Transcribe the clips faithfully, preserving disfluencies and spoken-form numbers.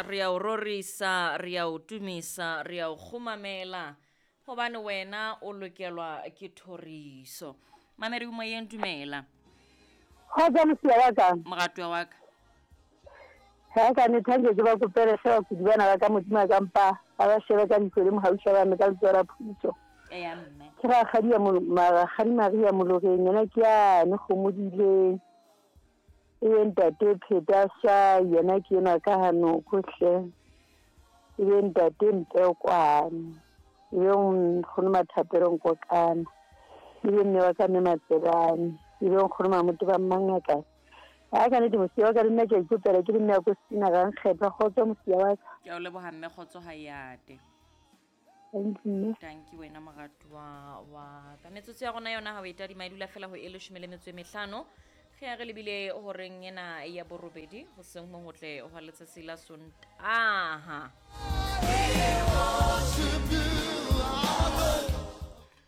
Re a o rorisa, re a o tumisa, re a o kgumamela hobane wena o lokelwa ke thoriso. Mamedi o moyeng, dumela. Kgotsa mosia wa ka. Moratuwa wa ka. Ha ka ne thanke ke ba kopele hle bakudi bana ba ka Modimo a ka mpa ba ba shebe ka leihlo le mohauša ba me ka letsoho la phodiso. Eya mme. Ke rakgadi ya rakgadi Maria Moloreng, yena ke yane kgomodileng. E be ntate Pheta Swai, yena ke enwa ka hanoko hle. E be ntate Mpekwane, e be nkgono Mathapelo Nkokana, e be mme wa ka mme Matsebane, e be nkgono Mamoto ba Mmangaka. Ha ka nnete mosia wa ka le nna ke a ikopela ke le mme ya ko Stina ga nkgetha. Kgotso mosia wa ka. Ke a o leboha mme, kgotso ha e ate. Thank you mme. Thank you wena moratuwa wa ka. Metsotso ya rona yona ha o e tadima e dula fela ho e leshome le metso e mehlano. Ge ya re lebile horeng ena ya borobedi hoseng ho hotle hwa letsatsi la Sontaha.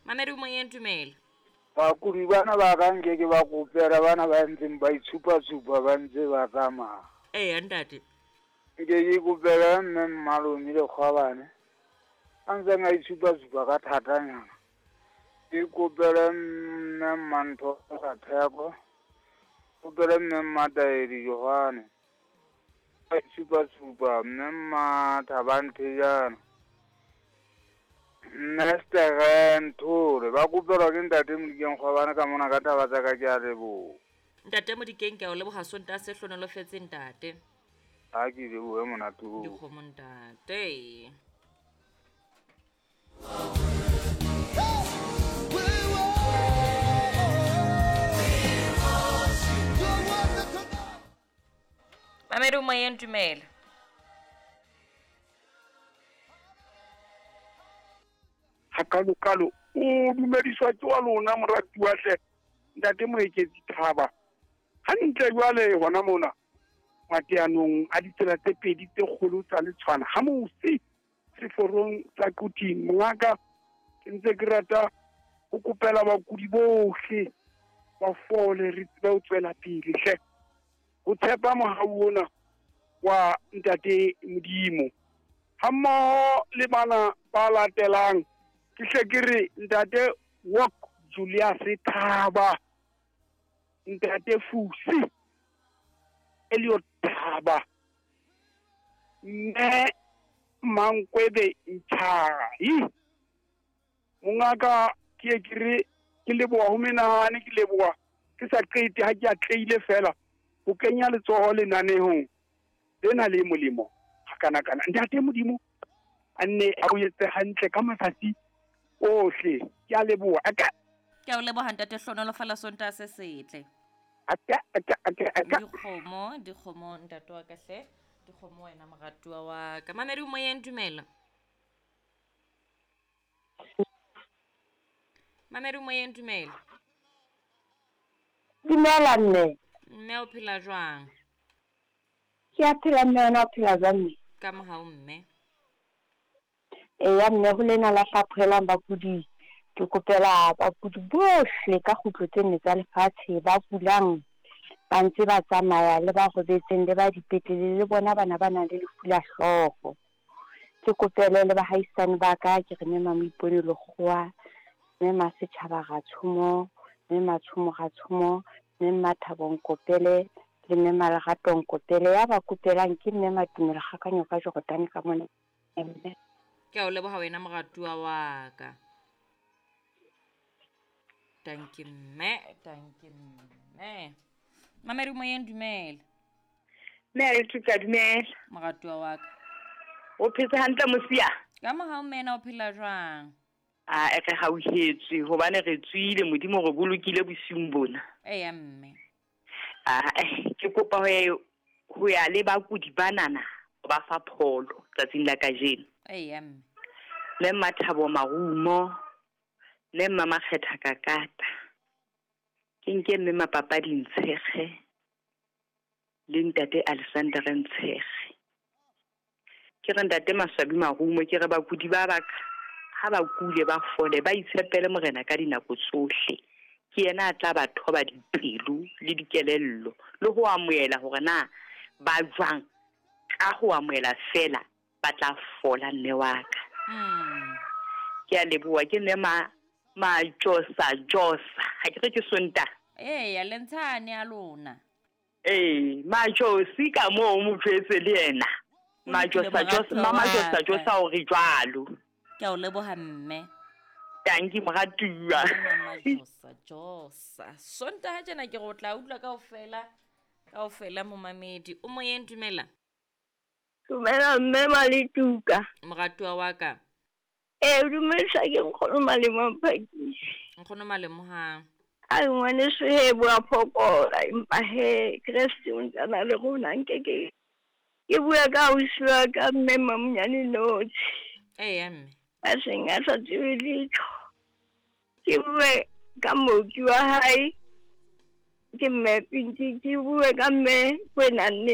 Mamedi o moyeng, dumela. Bakudi bana ba ka nke ke ba kopela bana ba ntseng ba itshupa-tshupa ba ntse ba tsamaya. Eya ntate. Nke ke kopela mme Mmalome le Kgwabane a ntseng a itshupa-tshupa ka thatanyana. Ke kopele mme Mmantho sa Theko, kopele mme Mmataedi Johane a itshupa-tshupa, mme Mmathabang Thejana, mme Sterre Nthole ba kopelwa ke ntate Modikeng Kgwabane ka mona ka taba tsa ka. Ke a leboha. Ntate Modikeng, ke a o leboha. Sontaha se hlonolofetse ntate. Ha ke lebohe monate oo. Dikgomo ntate. Mamedi o moyeng, dumela. Hakalo-kalo o dumediswa ke wa lona moratuwa hle ntate Moeketsi Thaba. Hantle jwale hona mona mateanong a ditsela tse pedi tse kgolo tsa Letshwana ha mose seforong sa Quthing. Mongaka, ke ntse ke rata ho kopela bakudi bohle ba fole, re tsebe ho tswela pele hle. Ho tshepa mohau ona wa ntate Modimo hammoho le bana ba latelang. Ke hle ke re ntate Walk Julius Thaba, ntate Fusi Elliot Thaba, mme Mankwebe Ntshai. Mongaka, ke ke re ke leboha ho menahane, ke leboha ke sa qete ha ke atlehile fela ho kenya letsoho lenanehong lena le molemo hakanakana. Ntate Modimo a nne a o etse hantle ka matsatsi ohle. Ke a leboha. Aka Ke a o leboha ntate, hlonolofala Sontaha se setle. Aka aka aka aka. Dikgomo, dikgomo ntate wa ka hle. Dikgomo wena moratuwa wa ka. Mamedi o moyeng, dumela. Mamedi o moyeng, dumela. Dumela mme. Mme o phela jwang? Ke a phela mme, wena o phela jwang mme? Ka mohau mme. Eya mme, ho lena la hlaphohelang bakudi. Ke kopela bakudi bohle ka kgutlo tse nne tsa lefatshe ba kulang ba ntse ba tsamaya le ba robetseng le ba dipetlele le bona bana ba nang le lefu la hlooho. Ke kopele le bahaisane ba ka, ke re mme Mamoipone Lekgowa, mme Masetjhaba Ratshomo, mme Matshomo Ratshomo, mme Mmathabo Nkopele le mme Malerato Nkopele. Ya ba kopelang ke mme Matumelo Kgakanyo ka Jordan ka mona. Mme Ke a o leboha wena moratuwa wa ka. Thank you mme, thank you mme. Mamedi o moyeng, dumela. Mme a Letuka, dumela. Moratuwa wa ka. O phetse hantle mosia? Ka mohau mme, na o phela jwang? A e re hauhetswe hobane re tswile, Modimo re bolokile bosiung bona. Eya mme. A ke kopa ho ho ya le bakudi banana ba fa pholo tsatsing la kajeno. Eya mme. Le Mathabo Marumo, le mma Makgetha Kakata. Ke nke mme Mapapadi Ntshekge le ntate Alexander Ntshekge. Ke re ntate Maswabi Marumo, ke re bakudi ba baka ha ba kule ba fole, ba itshepele Morena ka dinako tsohle. Ke yena a tla ba thoba dipelo le dikelello le ho amohela hore na ba jwang Ka ho amohela fela ba tla fola mme wa ka. Mm. Ke a leboha, ke mme ma Majosa Josa. Ha ke re ke Sontaha. Eya, le ntshane ya lona. Ee, Majosi ka moo mo jwetse le yena. O lokile, Majosa Josa, moratuwa mama wa Josa ka. Josa o re jwalo. Ke a o leboha mme. Tanki moratuwa. Mama Josa Josa. Sontaha tjena ke re o tla utlwa kaofela, kaofela momamedi. O moyeng, dumela. Dumela mme Maletuka. Moratuwa wa ka. Ee, dumedisa ke nkgono Malemo Mphakisi. Nkgono Malemo ha. A ngwaneso he bo a phokola empa he Kreste o ntse a na le rona, nke ke ke bua ka ausi wa ka mme Mamonyane Notshi. Eya mme. A seng a sa tsebe letho. Ke bue ka mooki wa hae, ke mme Pinki, ke bue ka mme Kwenanne.